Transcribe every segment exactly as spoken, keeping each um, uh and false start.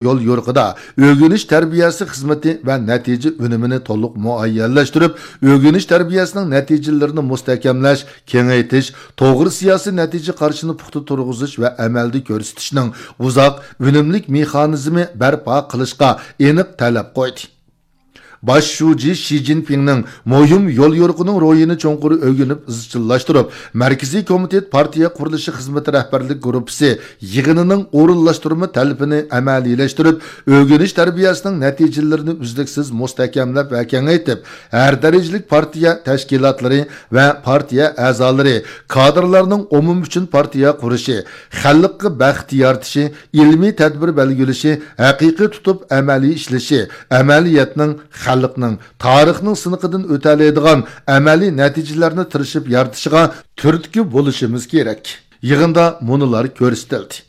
يول يورۇقىدا ئۆگىنىش تەربىيەسى خىزمىتى ۋە نەتىجە ئۈنۈمىنى تولۇق مۇئەييەنلەشتۈرۈپ، ئۆگىنىش تەربىيەسىنىڭ نەتىجىلىرىنى مۇستەھكەملەش، كېڭەيتىش، توغرا سىياسىي نەتىجە قارىشىنى پۇختا تۇرغۇزۇش ۋە ئەمەلدە كۆرسىتىشنىڭ ئۇزاق ئۈنۈملۈك مېخانىزمى بەرپا قىلىشقا ئېنىق تەلەپ قويدى. باش شۇجى شى جىنپىڭنىڭ مۇھىم يوليورۇقىنىڭ روھىنى چوڭقۇر ئۆگىنىپ ئىزچىللاشتۇرۇپ، مەركىزىي كومىتېت پارتىيە قۇرۇلۇشى خىزمىتى رەھبەرلىك گۇرۇپپىسى يىغىنىنىڭ ئورۇنلاشتۇرما تەلىپىنى ئەمەلىيلەشتۈرۈپ، ئۆگىنىش تەربىيەسىنىڭ نەتىجىلىرىنى ئۈزلۈكسىز مۇستەھكەملەپ ۋە كېڭەيتىپ، ھەر دەرىجىلىك پارتىيە تەشكىلاتلىرى ۋە پارتىيە ئەزالىرى، كادىرلارنىڭ ئومۇم ئۈچۈن پارتىيە قۇرۇشى، خەلققە بەخت يارىتىشى، ئىلمىي تەدبىر بەلگىلىشى، ھەقىقىي تۇتۇپ ئەمەلىي ئىشلىشى، ئەمەلىيەتنىڭ، خەلقنىڭ، تارىخنىڭ سىنىقىدىن ئۆتەلەيدىغان ئەمەلىي نەتىجىلەرنى تىرىشىپ يارىتىشىغا تۈرتكە بولۇشىمىز كېرەك. يىغىندا مۇنۇلار كۆرسىتىلدى.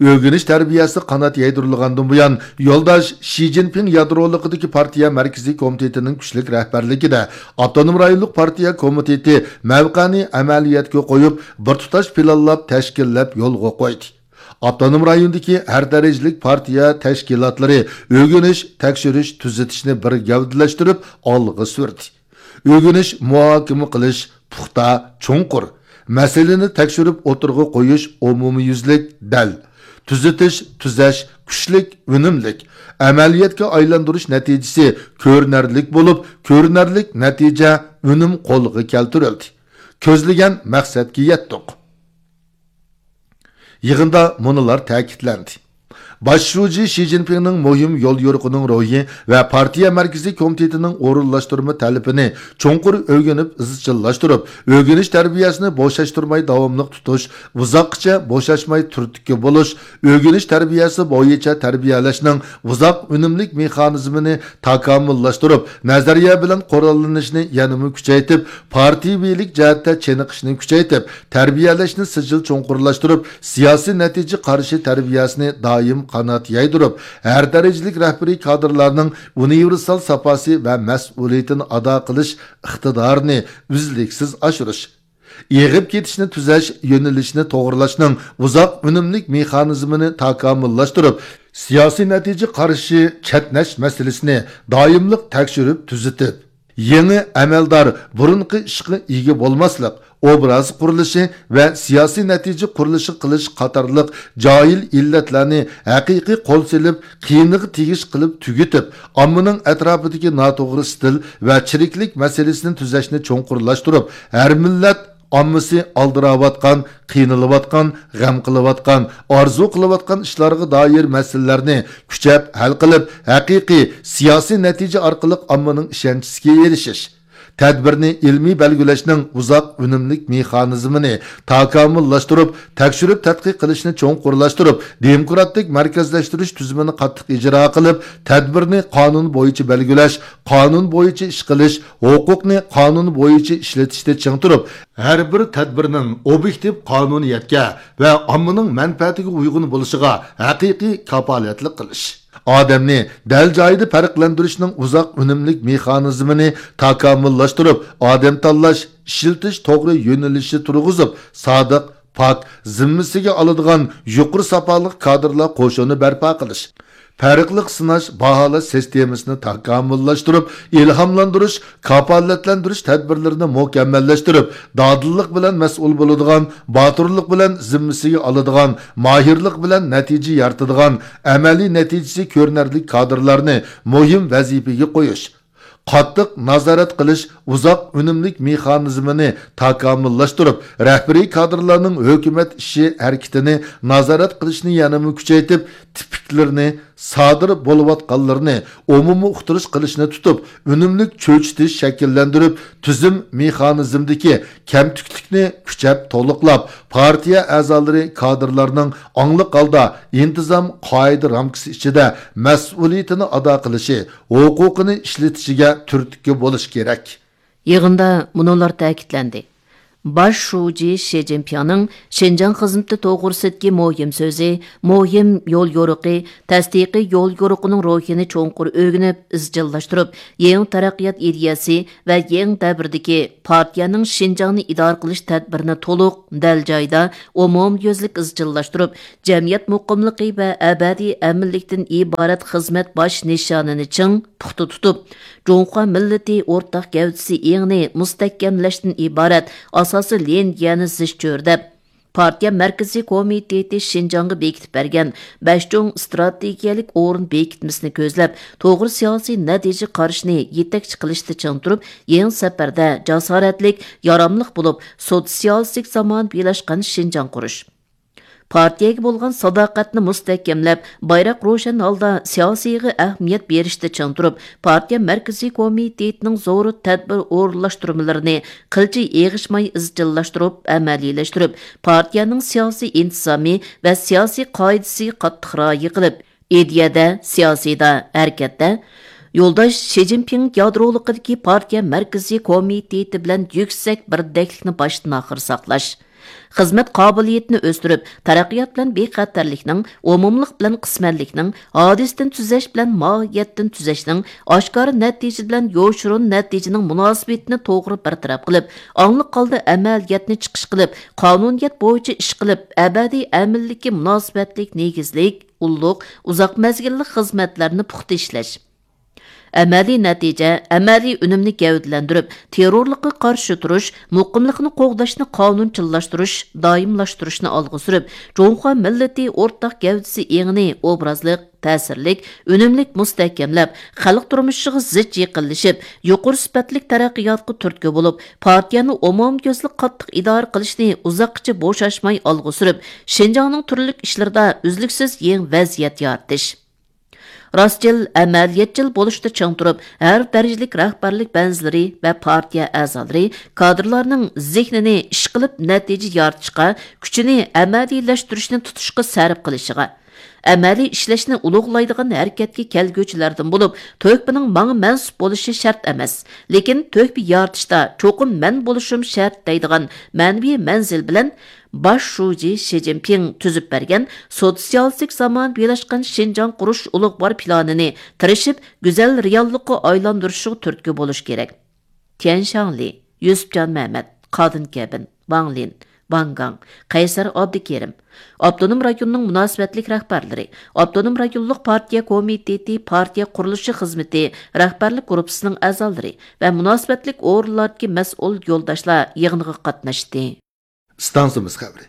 ئۆگىنىش تەربىيەسى قانات يايدۇرۇلغاندىن بۇيان، يولداش شى جىنپىڭ يادرولۇقىدىكى پارتىيە مەركىزىي كومىتېتىنىڭ كۈچلۈك رەھبەرلىكىدە ئاپتونوم رايونلۇق پارتىيە كومىتېتى مەۋقەنى ئەمەلىيەتكە قويۇپ، بىر تۇتاش پىلانلاپ، تەشكىللەپ يولغا قويدى. ئاپتونوم رايوندىكى ھەر دەرىجىلىك پارتىيە تەشكىلاتلىرى ئۆگىنىش، تەكشۈرۈش، تۈزىتىشنى بىر گەۋدىلەشتۈرۈپ ئالغا سۈردى. ئۆگىنىش، مۇھاكىمە قىلىش پۇختا، چوڭقۇر، مەسىلىنى تەكشۈرۈپ ئوتتۇرىغا قويۇش ئومۇميۈزلۈك، دەل، تۈزىتىش، تۈزەش كۈچلۈك، ئۈنۈملۈك، ئەمەلىيەتكە ئايلاندۇرۇش نەتىجىسى كۆرۈنەرلىك بولۇپ، كۆرۈنەرلىك نەتىجە، ئۈنۈم قولغا كەلتۈرۈلدى. كۆزلىگەن مەقسەتكە يەتتۇق. يىغىندا مۇنۇلار تەكىتلەندى. باش شۇجى شى جىنپىڭنىڭ مۇھىم يوليورۇقىنىڭ روھى ۋە پارتىيە مەركىزىي كومىتېتىنىڭ ئورۇنلاشتۇرما تەلىپىنى چوڭقۇر ئۆگىنىپ ئىزچىللاشتۇرۇپ، ئۆگىنىش تەربىيەسىنى بوشاشتۇرماي داۋاملىق تۇتۇش، ئۇزاققىچە بوشاشماي تۈرتكە بولۇش، ئۆگىنىش تەربىيەسى بويىچە تەربىيەلەشنىڭ ئۇزاق ئۈنۈملۈك مېخانىزمىنى تاكامۇللاشتۇرۇپ، نەزەرىيە بىلەن قوراللىنىشنى يەنىمۇ كۈچەيتىپ، پارتىيىۋىلىك جەھەتتە چېنىقىشنى كۈچەيتىپ، تەربىيەلەشنى سىجىل چوڭقۇرلاشتۇرۇپ، سىياسىي نەتىجە قارىشى تەربىيەسىنى دائىم قانات يايدۇرۇپ، ھەر دەرىجىلىك رەھبىرىي كادىرلارنىڭ ئۇنىۋېرسال ساپاسى ۋە مەسئۇلىيىتىنى ئادا قىلىش ئىقتىدارىنى ئۈزلۈكسىز ئاشۇرۇش، ئېغىپ كېتىشنى تۈزەش، يۆنىلىشنى توغرىلاشنىڭ ئۇزاق ئۈنۈملۈك مېخانىزمىنى تاكامۇللاشتۇرۇپ، سىياسىي نەتىجە قارىشى چەتنەش مەسىلىسىنى دائىملىق تەكشۈرۈپ تۈزىتىپ، يېڭى ئەمەلدار بۇرۇنقى ئىشقا ئىگە بولماسلىق، ئوبراز قۇرۇلۇشى ۋە سىياسىي نەتىجە قۇرۇلۇشى قىلىش قاتارلىق جاھىل ئىللەتلەرنى ھەقىقىي قول سېلىپ، قىيىنىغا تېگىش قىلىپ تۈگىتىپ، ئاممىنىڭ ئەتراپىدىكى ناتوغرا ئىستىل ۋە چىرىكلىك مەسىلىسىنى تۈزەشنى چوڭقۇرلاشتۇرۇپ، ھەر مىللەت ئاممىسى ئالدىراۋاتقان، قىينىلىۋاتقان، غەم قىلىۋاتقان، ئارزۇ قىلىۋاتقان ئىشلارغا دائىر مەسىلىلەرنى كۈچەپ ھەل قىلىپ، ھەقىقىي سىياسىي نەتىجە ئارقىلىق ئاممىنىڭ ئىشەنچىسىگە ئېرىشىش. تەدبىرنى ئىلمىي بەلگىلەشنىڭ ئۇزاق ئۈنۈملۈك مېخانىزمىنى تاكامۇللاشتۇرۇپ، تەكشۈرۈپ تەتقىق قىلىشنى چوڭقۇرلاشتۇرۇپ، دېموكراتىك مەركەزلەشتۈرۈش تۈزۈمىنى قاتتىق ئىجرا قىلىپ، تەدبىرنى قانۇن بويىچە بەلگىلەش، قانۇن بويىچە ئىش قىلىش، ھوقۇقنى قانۇن بويىچە ئىشلىتىشتە چىڭ تۇرۇپ، ھەر بىر تەدبىرنىڭ ئوبيېكتىپ قانۇنىيەتكە ۋە ئاممىنىڭ مەنپەئەتىگە ئۇيغۇن بولۇشىغا ھەقىقىي كاپالەتلىك قىلىش. ئادەمنى دەل جايىدا پەرقلەندۈرۈشنىڭ ئۇزاق ئۈنۈملۈك مېخانىزمىنى تاكامۇللاشتۇرۇپ، ئادەم تاللاش، ئىشلىتىش توغرا يۆنىلىشى تۇرغۇزۇپ، سادىق، پاك، زىممىسىگە ئالىدىغان يۇقىرى ساپالىق كادىرلار قوشۇنى بەرپا قىلىش، پەرقلىق سىناش، باھالاش سىستېمىسىنى تاكامۇللاشتۇرۇپ، ئىلھاملاندۇرۇش، كاپالەتلەندۈرۈش تەدبىرلىرىنى مۇكەممەللەشتۈرۈپ، دادىللىق بىلەن مەسئۇل بولىدىغان، باتۇرلۇق بىلەن زىممىسىگە ئالىدىغان، ماھىرلىق بىلەن نەتىجە يارىتىدىغان، ئەمەلىي نەتىجىسى كۆرۈنەرلىك كادىرلارنى مۇھىم ۋەزىپىگە قويۇش، قاتتىق نازارەت قىلىش ئۇزاق ئۈنۈملۈك مېخانىزمىنى تاكامۇللاشتۇرۇپ، رەھبىرىي كادىرلارنىڭ ھۆكۈمەت ئىشى ھەرىكىتىنى نازارەت قىلىشنى يەنىمۇ كۈچەيتىپ، تىپىكلىرىنى، سادىر بولۇۋاتقانلىرىنى ئومۇمىي ئۇقتۇرۇش قىلىشنى تۇتۇپ، ئۈنۈملۈك چۆچۈتۈش شەكىللەندۈرۈپ، تۈزۈم مېخانىزمىدىكى كەمتۈكلۈكنى كۈچەپ تولۇقلاپ، پارتىيە ئەزالىرى، كادىرلارنىڭ ئاڭلىق ھالدا ئىنتىزام، قائىدە رامكىسى ئىچىدە مەسئۇلىيىتىنى ئادا قىلىشى، ھوقۇقىنى ئىشلىتىشىگە تۈرتكە بولۇش كېرەك. يىغىندا مۇنۇلار تەكىتلەندى. باش شۇجى شى جىنپىڭنىڭ شىنجاڭ خىزمىتى توغرىسىدىكى مۇھىم سۆزى، مۇھىم يول يورۇقى، تەستىقىي يول يورۇقىنىڭ روھىنى چوڭقۇر ئۆگىنىپ ئىزچىللاشتۇرۇپ، يېڭى تەرەققىيات ئىدىيەسى ۋە يېڭى دەۋردىكى پارتىيەنىڭ شىنجاڭنى ئىدارە قىلىش تەدبىرىنى تولۇق، دەل جايىدا، ئومۇميۈزلۈك ئىزچىللاشتۇرۇپ، جەمئىيەت مۇقىملىقى ۋە ئەبەدىي ئەمىنلىكتىن ئىبارەت خىزمەت باش نىشانىنى چىڭ، پۇختا تۇتۇپ، جۇڭخۇا مىللىتى ئورتاق گەۋدىسى ئېڭىنى مۇستەھكەملەشتىن ئىبارەت ئاساسىي لىنىيەنى زىچ چۆرىدەپ، پارتىيە مەركىزىي كومىتېتى شىنجاڭغا بېكىتىپ بەرگەن بەش چوڭ ئىستراتېگىيەلىك ئورۇن بېكىتمىسىنى كۆزلەپ، توغرا سىياسىي نەتىجە قارىشىنى يېتەكچى قىلىشتا چىڭ تۇرۇپ، يېڭى سەپەردە جاسارەتلىك، ياراملىق بولۇپ، سوتسىيالىستىك زامانىۋىلاشقان شىنجاڭ قۇرۇش. پارتىيەگە بولغان ساداقەتنى مۇستەھكەملەپ، بايراق روشەن ھالدا سىياسىيغا ئەھمىيەت بېرىشتە چىڭ تۇرۇپ، پارتىيە مەركىزىي كومىتېتىنىڭ زور تەدبىر ئورۇنلاشتۇرمىلىرىنى قىلچە ئېغىشماي ئىزچىللاشتۇرۇپ ئەمەلىيلەشتۈرۈپ، پارتىيەنىڭ سىياسىي ئىنتىزامى ۋە سىياسىي قائىدىسىگە قاتتىق رىئايە قىلىپ، ئىدىيەدە، سىياسىيدا، ھەرىكەتتە يولداش شى جىنپىڭ يادرولۇقىدىكى پارتىيە مەركىزىي كومىتېتى بىلەن يۈكسەك بىردەكلىكنى باشتىن ئاخىر ساقلاش. خىزمەت قابىلىيىتىنى ئۆستۈرۈپ، تەرەققىيات بىلەن بىخەتەرلىكنىڭ، ئومۇملۇق بىلەن قىسمەنلىكنىڭ، ھادىسىدىن تۈزەش بىلەن ماھىيەتتىن تۈزەشنىڭ، ئاشكارا نەتىجە بىلەن يوشۇرۇن نەتىجىنىڭ مۇناسىۋىتىنى توغرا بىر تەرەپ قىلىپ، ئاڭلىق ھالدا ئەمەلىيەتنى چىقىش قىلىپ، قانۇنىيەت بويىچە ئىش قىلىپ، ئەبەدىي ئەمىنلىككە مۇناسىۋەتلىك نېگىزلىك، ئۇللۇق، ئۇزاق مەزگىللىك خىزمەتلەرنى پۇختا ئىشلەش. ئەمەلىي نەتىجە، ئەمەلىي ئۈنۈمنى گەۋدىلەندۈرۈپ، تېررورلۇققا قارشى تۇرۇش، مۇقىملىقنى قوغداشنى قانۇنچىللاشتۇرۇش، دائىملاشتۇرۇشنى ئالغا سۈرۈپ، جۇڭخۇا مىللىتى ئورتاق گەۋدىسى ئېڭىنى ئوبرازلىق، تەسىرلىك، ئۈنۈملۈك مۇستەھكەملەپ، خەلق تۇرمۇشىغا زىچ يېقىنلىشىپ، يۇقىرى سۈپەتلىك تەرەققىياتقا تۈرتكە بولۇپ، پارتىيەنى ئومۇميۈزلۈك قاتتىق ئىدارە قىلىشنى ئۇزاققىچە بوشاشماي ئالغا سۈرۈپ، شىنجاڭنىڭ تۈرلۈك ئىشلىرىدا ئۈزلۈكسىز يېڭى ۋەزىيەت يارىتىش. راستچىل، ئەمەلىيەتچىل بولۇشتا چىڭ تۇرۇپ، ھەر دەرىجىلىك رەھبەرلىك بەنزىلىرى ۋە پارتىيە ئەزالىرى، كادىرلارنىڭ زېھنىنى ئىشقىلىپ نەتىجە يارىتىشقا، كۈچىنى ئەمەلىيلەشتۈرۈشنى تۇتۇشقا سەرپ قىلىشىغا، ئەمەلىي ئىشلەشنى ئۇلۇغلايدىغان ھەرىكەتكە كەلگۈچىلەردىن بولۇپ، تۆھپىنىڭ ماڭا مەنسۇپ بولۇشى شەرت ئەمەس، لېكىن تۆھپە يارىتىشتا چوقۇم مەن بولۇشۇم شەرت دەيدىغان مەنىۋى مەنزىل بىلەن باش شۇجى شى جىنپىڭ تۈزۈپ بەرگەن سوتسىيالىستىك زامانىۋىلاشقان شىنجاڭ قۇرۇش ئۇلۇغۋار پىلانىنى تىرىشىپ گۈزەل رېئاللىققا ئايلاندۇرۇشىغا تۈرتكە بولۇش كېرەك. تيەن شاڭلى، يۈسۈپجان مەمەت، قادىن كەبىن، ۋاڭ لىن، ۋاڭ گاڭ، قەيسەر ئابدۇكېرىم، ئاپتونوم رايوننىڭ مۇناسىۋەتلىك رەھبەرلىرى، ئاپتونوم رايونلۇق پارتىيە كومىتېتى پارتىيە قۇرۇلۇشى خىزمىتى رەھبەرلىك گۇرۇپپىسىنىڭ ئەزالىرى ۋە مۇناسىۋەتلىك ئورۇنلاردىكى مەسئۇل يولداشلار يىغىنغا قاتناشتى. ئىستانسىمىز خەۋىرى.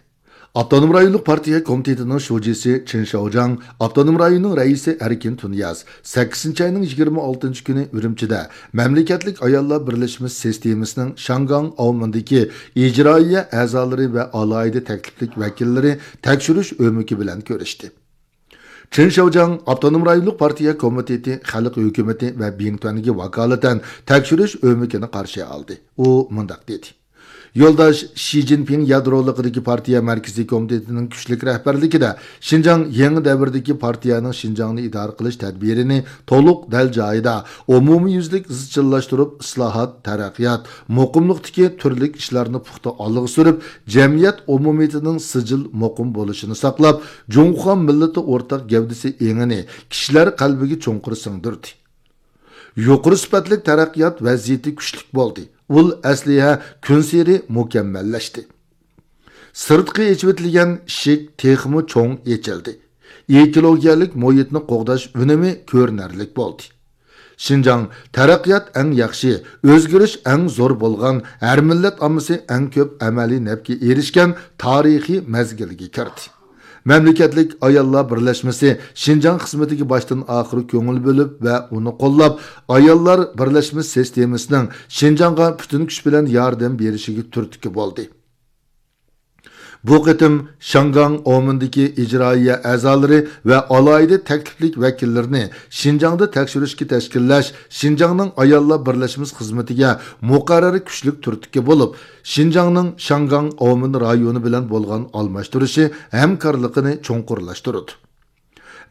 ئاپتونوم رايونلۇق پارتىيە كومىتېتىنىڭ شۇجىسى چېن شياۋجياڭ، ئاپتونوم رايوننىڭ رەئىسى ئەركىن تۇنىياز سەككىزىنچى ئاينىڭ يىگىرمە ئالتىنچى كۈنى ئۈرۈمچىدە مەملىكەتلىك ئاياللار بىرلەشمە سىستېمىسىنىڭ شياڭگاڭ ئاۋمېنىدىكى ئىجرائىيە ئەزالىرى ۋە ئالاھىدە تەكلىپلىك ۋەكىللىرى تەكشۈرۈش ئۆمىكى بىلەن كۆرۈشتى. چېن شياۋجياڭ ئاپتونوم رايونلۇق پارتىيە كومىتېتى خەلق ھۆكۈمىتى ۋە بىڭتۈەنگە ۋاكالىتەن تەكشۈرۈش ئۆمىكىنى قارشى ئالدى. ئۇ مۇنداق دېدى. يولداش شى جىنپىڭ يادرولۇقىدىكى پارتىيە مەركىزىي كومىتېتىنىڭ كۈچلۈك رەھبەرلىكىدە شىنجاڭ يېڭى دەۋردىكى پارتىيەنىڭ شىنجاڭنى ئىدارە قىلىش تەدبىرىنى تولۇق دەل جايىدا، ئومۇميۈزلۈك ئىزچىللاشتۇرۇپ، ئىسلاھات، تەرەققىيات، مۇقىملىقتىكى تۈرلۈك ئىشلارنى پۇختا ئالغا سۈرۈپ، جەمئىيەت ئومۇمىيىتىنىڭ سىجىل مۇقىم بولۇشىنى ساقلاپ، جۇڭخۇا مىللىتى ئورتاق گەۋدىسى ئېڭىنى كىشىلەر قەلبىگە چوڭقۇر سىڭدۈردى. يۇقىرى سۈپەتلىك تەرەققىيات ۋەزىيىتى كۈچلۈك بولدى. ئۇل ئەسلىھە كۈنسېرى مۇكەممەللەشتى. سىرتقى ئېچىۋېتىلگەن ئىشىك تېخىمۇ چوڭ ئېچىلدى. ئېكولوگىيەلىك مۇھىتنى قوغداش ئۈنۈمى كۆرۈنەرلىك بولدى. شىنجاڭ تەرەققىيات ئەڭ ياخشى، ئۆزگىرىش ئەڭ زور بولغان، ھەر مىللەت ئاممىسى ئەڭ كۆپ ئەمەلىي نەپكە ئېرىشكەن تارىخىي مەزگىلگە كىردى. مەملىكەتلىك ئاياللار بىرلەشمىسى شىنجاڭ خىزمىتىگە باشتىن ئاخىر كۆڭۈل بۆلۈپ ۋە ئۇنى قوللاپ، ئاياللار بىرلەشمە سىستېمىسىنىڭ شىنجاڭغا پۈتۈن كۈچ بىلەن ياردەم بېرىشىگە تۈرتكە بولدى. بۇ قېتىم شياڭگاڭ ئاۋمېندىكى ئىجرائىيە ئەزالىرى ۋە ئالاھىدە تەكلىپلىك ۋەكىللىرىنى شىنجاڭدا تەكشۈرۈشكە تەشكىللەش شىنجاڭنىڭ ئاياللار بىرلەشمىسى خىزمىتىگە مۇقەررەر كۈچلۈك تۈرتكە بولۇپ، شىنجاڭنىڭ شياڭگاڭ ئاۋمېن رايونى بىلەن بولغان ئالماشتۇرۇشى ھەمكارلىقىنى چوڭقۇرلاشتۇرىدۇ.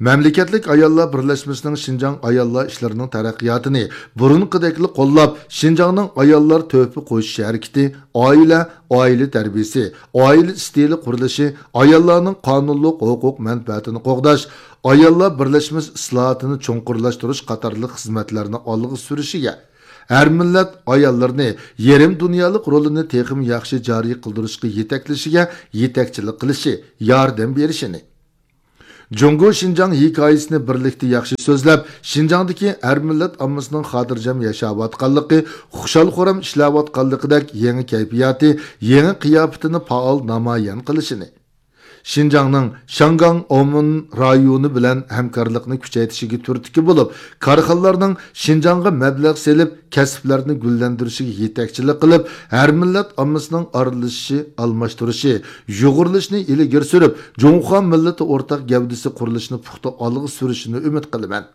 مەملىكەتلىك ئاياللار بىرلەشمىسىنىڭ شىنجاڭ ئاياللار ئىشلىرىنىڭ تەرەققىياتىنى بۇرۇنقىدەكلا قوللاپ، شىنجاڭنىڭ ئاياللار تۆھپە قوشۇش ھەرىكىتى، ئائىلە، ئائىلە تەربىيىسى، ئائىلە ئىستىلى قۇرۇلۇشى، ئاياللارنىڭ قانۇنلۇق ھوقۇق مەنپەئەتىنى قوغداش، ئاياللار بىرلەشمىسى ئىسلاھاتىنى چوڭقۇرلاشتۇرۇش قاتارلىق خىزمەتلەرنى ئالغا سۈرۈشىگە، ھەر مىللەت ئاياللىرىنى يېرىم دۇنيالىق رولىنى تېخىمۇ ياخشى جارى قىلدۇرۇشقا يېتەكلىشىگە يېتەكچىلىك قىلىشى، ياردەم بېرىشىنى، جۇڭگو شىنجاڭ ھېكايىسىنى بىرلىكتە ياخشى سۆزلەپ، شىنجاڭدىكى ھەر مىللەت ئاممىسىنىڭ خاتىرجەم ياشاۋاتقانلىقى، خۇشال-خۇرام ئىشلەۋاتقانلىقىدەك يېڭى كەيپىياتى، يېڭى قىياپىتىنى پائال نامايان قىلىشىنى، شىنجاڭنىڭ شياڭگاڭ ئاۋمېن رايونى بىلەن ھەمكارلىقنى كۈچەيتىشىگە تۈرتكە بولۇپ، كارخانىلارنىڭ شىنجاڭغا مەبلەغ سېلىپ، كەسىپلەرنى گۈللەندۈرۈشىگە يېتەكچىلىك قىلىپ، ھەر مىللەت ئاممىسىنىڭ ئارىلىشىشى، ئالماشتۇرۇشى، يۇغۇرۇلۇشىنى ئىلگىرى سۈرۈپ، جۇڭخۇا مىللىتى ئورتاق گەۋدىسى قۇرۇلۇشىنى پۇختا ئالغا سۈرۈشىنى ئۈمىد قىلىمەن.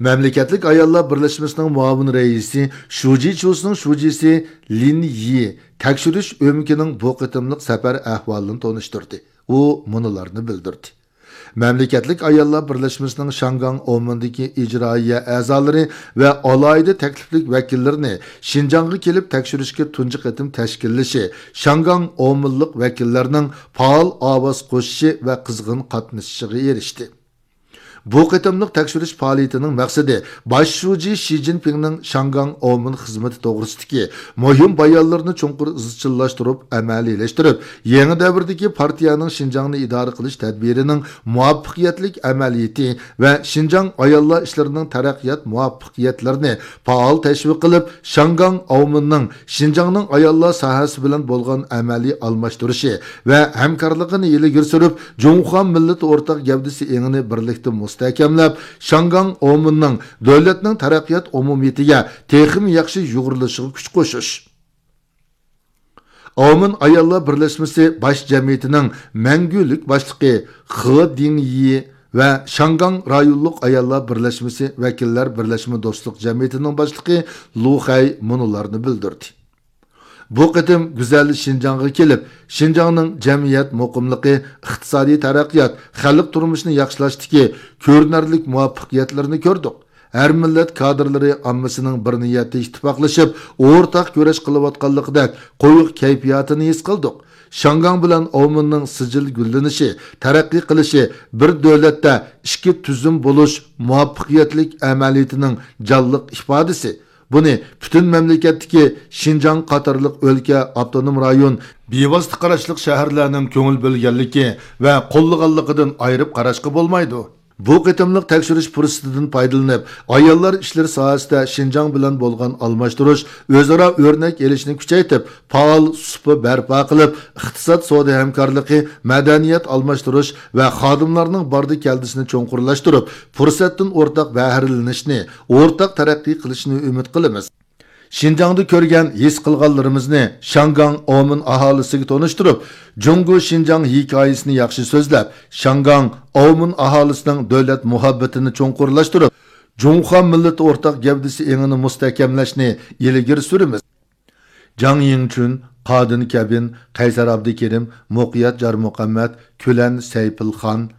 مەملىكەتلىك ئاياللار بىرلەشمىسىنىڭ مۇئاۋىن رەئىسى شۇجى چۇسىنىڭ شۇجىسى لىن يى تەكشۈرۈش ئۆمىكىنىڭ بۇ قېتىملىق سەپەر ئەھۋالىنى تونۇشتۇردى. ئۇ مۇنۇلارنى بىلدۈردى. مەملىكەتلىك ئاياللار بىرلەشمىسىنىڭ شياڭگاڭ ئاۋمېندىكى ئىجرائىيە ئەزالىرى ۋە ئالاھىدە تەكلىپلىك ۋەكىللىرىنى شىنجاڭغا كېلىپ تەكشۈرۈشكە تۇنجى قېتىم تەشكىللىشى، شياڭگاڭ ئاۋمېنلىق ۋەكىللەرنىڭ پائال ئاۋاز قوشۇشى ۋە قىزغىن قاتنىشىشىغا ئېرىشتى. بۇ قېتىملىق تەكشۈرۈش پائالىيىتىنىڭ مەقسىتى باش شۇجى شى جىنپىڭنىڭ شياڭگاڭ ئاۋمېن خىزمىتى توغرىسىدىكى مۇھىم بايانلىرىنى چوڭقۇر ئىزچىللاشتۇرۇپ ئەمەلىيلەشتۈرۈپ، يېڭى دەۋردىكى پارتىيەنىڭ شىنجاڭنى ئىدارە قىلىش تەدبىرىنىڭ مۇۋەپپەقىيەتلىك ئەمەلىيىتى ۋە شىنجاڭ ئاياللار ئىشلىرىنىڭ تەرەققىيات مۇۋەپپەقىيەتلىرىنى پائال تەشۋىق قىلىپ، شياڭگاڭ ئاۋمېننىڭ شىنجاڭنىڭ ئاياللار ساھەسى بىلەن بولغان ئەمەلىي ئالماشتۇرۇشى ۋە ھەمكارلىقىنى ئىلگىرى سۈرۈپ، جۇڭخۇا مىللىتى ئورتاق گەۋدىسى ئېڭىنى بىرلىكتە مۇستەھكەملەپ، شياڭگاڭ ئاۋمېننىڭ دۆلەتنىڭ تەرەققىيات ئومۇمىيىتىگە تېخىمۇ ياخشى يۇغۇرۇلۇشىغا كۈچ قوشۇش. ئاۋمېن ئاياللار بىرلەشمىسى باش جەمئىيىتىنىڭ مەڭگۈلۈك باشلىقى خې دىڭيى ۋە شياڭگاڭ رايونلۇق ئاياللار بىرلەشمىسى ۋەكىللەر بىرلەشمە دوستلۇق جەمئىيىتىنىڭ باشلىقى لۇ خەي مۇنۇلارنى بىلدۈردى. بۇ قېتىم گۈزەل شىنجاڭغا كېلىپ، شىنجاڭنىڭ جەمئىيەت مۇقىملىقى، ئىقتىسادىي تەرەققىيات، خەلق تۇرمۇشىنى ياخشىلاشتىكى كۆرۈنەرلىك مۇۋەپپەقىيەتلىرىنى كۆردۇق. ھەر مىللەت كادىرلىرى ئاممىسىنىڭ بىر نىيەتتە ئىتتىپاقلىشىپ، ئورتاق كۈرەش قىلىۋاتقانلىقىدەك قويۇق كەيپىياتىنى ھېس قىلدۇق. شياڭگاڭ بىلەن ئاۋمېننىڭ سىجىل گۈللىنىشى، تەرەققىي قىلىشى بىر دۆلەتتە ئىككى تۈزۈم بولۇش مۇۋەپپەقىيەتلىك ئەمەلىيىتىنىڭ جانلىق ئىپادىسى. بۇنى پۈتۈن مەملىكەتتىكى شىنجاڭ قاتارلىق ئۆلكە، ئاپتونوم رايون، بىۋاسىتە قاراشلىق شەھەرلەرنىڭ كۆڭۈل بۆلگەنلىكى ۋە قوللىغانلىقىدىن ئايرىپ قاراشقا بولمايدۇ. بۇ قېتىملىق تەكشۈرۈش پۇرسىتىدىن پايدىلىنىپ، ئاياللار ئىشلىرى ساھەسىدە شىنجاڭ بىلەن بولغان ئالماشتۇرۇش، ئۆزئارا ئۆرنەك ئېلىشنى كۈچەيتىپ، پائال سۇپا بەرپا قىلىپ، ئىقتىساد، سودا ھەمكارلىقى، مەدەنىيەت ئالماشتۇرۇش ۋە خادىملارنىڭ باردى كەلدىسىنى چوڭقۇرلاشتۇرۇپ، پۇرسەتتىن ئورتاق بەھرىلىنىشنى، ئورتاق تەرەققىي قىلىشنى ئۈمىد قىلىمىز. شىنجاڭدا كۆرگەن، ھېس قىلغانلىرىمىزنى شياڭگاڭ ئاۋمېن ئاھالىسىگە تونۇشتۇرۇپ، جۇڭگو شىنجاڭ ھېكايىسىنى ياخشى سۆزلەپ، شياڭگاڭ ئاۋمېن ئاھالىسىنىڭ دۆلەت مۇھەببىتىنى چوڭقۇرلاشتۇرۇپ، جۇڭخۇا مىللىتى ئورتاق گەۋدىسى ئېڭىنى مۇستەھكەملەشنى ئىلگىرى سۈرىمىز. جاڭ يىڭچۈن، قادىن كەبىن، قەيسەر ئابدۇكېرىم، مۇقىيەت جارمۇقەممەت، كۈلەن سەيپىلخان،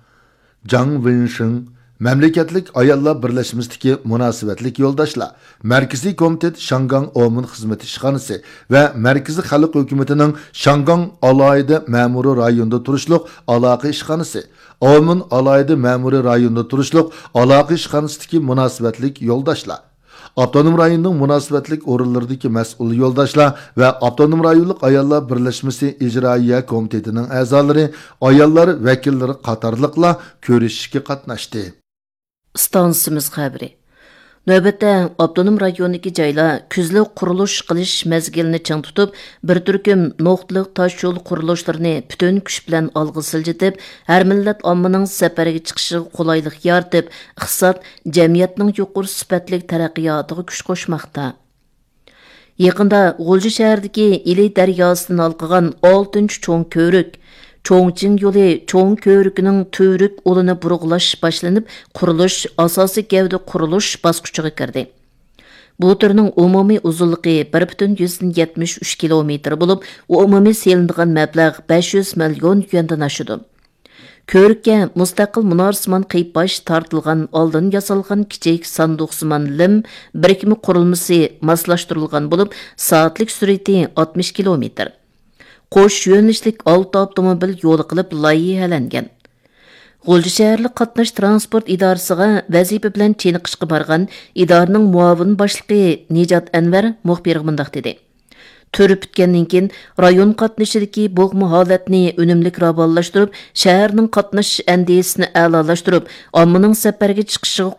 جاڭ ۋېنشىڭ، مەملىكەتلىك ئاياللار بىرلەشمىسىدىكى مۇناسىۋەتلىك يولداشلار، مەركىزىي كومىتېت شياڭگاڭ ئاۋمېن خىزمىتى ئىشخانىسى ۋە مەركىزىي خەلق ھۆكۈمىتىنىڭ شياڭگاڭ ئالاھىدە مەمۇرىي رايونىدا تۇرۇشلۇق ئالاقە ئىشخانىسى، ئاۋمېن ئالاھىدە مەمۇرىي رايونىدا تۇرۇشلۇق ئالاقە ئىشخانىسىدىكى مۇناسىۋەتلىك يولداشلار، ئاپتونوم رايوننىڭ مۇناسىۋەتلىك ئورۇنلىرىدىكى مەسئۇل يولداشلار ۋە ئاپتونوم رايونلۇق ئاياللار بىرلەشمىسى ئىجرائىيە كومىتېتىنىڭ ئەزالىرى، ئاياللار ۋەكىللىرى قاتارلىقلار كۆرۈشۈشكە قاتناشتى. ئىستانسىمىز خەۋىرى. نۆۋەتتە ئاپتونوم رايوندىكى جايلار كۈزلۈك قۇرۇلۇش قىلىش مەزگىلىنى چىڭ تۇتۇپ، بىر تۈركۈم نۇقتىلىق تاشيول قۇرۇلۇشلىرىنى پۈتۈن كۈچ بىلەن ئالغا سىلجىتىپ، ھەر مىللەت ئاممىنىڭ سەپەرگە چىقىشىغا قولايلىق يارىتىپ، ئىقتىساد، جەمئىيەتنىڭ يۇقىرى سۈپەتلىك تەرەققىياتىغا كۈچ قوشماقتا. يېقىندا غۇلجا شەھىرىدىكى ئىلى دەرياسىدىن ھالقىغان ئالتىنچى چوڭ كۆۋرۈك، چوڭچىڭ يولى چوڭ كۆۋرۈكىنىڭ تۈۋرۈك ئۇلىنى بۇرغىلاش باشلىنىپ، قۇرۇلۇش، ئاساسىي گەۋدە قۇرۇلۇش باسقۇچىغا كىردى. بۇ تۈرنىڭ ئومۇمىي ئۇزۇنلۇقى بىر پۈتۈن يۈزدىن يەتمىش ئۈچ كىلومېتىر بولۇپ، ئومۇمىي سېلىنىدىغان مەبلەغ بەش يۈز مىليون يۈەندىن ئاشىدۇ. كۆركە مۇستەقىل مۇنارسىمان قىيپاش تارتىلغان ئالدىن ياسالغان كىچىك ساندۇقسىمان لىم بىرىكمە قۇرۇلمىسى ماسلاشتۇرۇلغان بولۇپ، سائەتلىك سۈرئىتى ئاتمىش كىلومېتىر. قوش يۆنىلىشلىك ئالتە ئاپتوموبىل يولى قىلىپ لايىھەلەنگەن. غۇلجا شەھەرلىك قاتناش تىرانسپورت ئىدارىسىغا ۋەزىپە بىلەن چېنىقىشقا بارغان ئىدارىنىڭ مۇئاۋىن باشلىقى نىجات ئەنۋەر مۇخبىرغا مۇنداق دېدى: تۈر پۈتكەندىن كېيىن، رايون قاتنىشىدىكى بوغما ھالەتنى ئۈنۈملۈك راۋانلاشتۇرۇپ، شەھەرنىڭ قاتنىشىش ئەندىزىسىنى ئەلالاشتۇرۇپ، ئاممىنىڭ سەپەرگە چىقىشىغا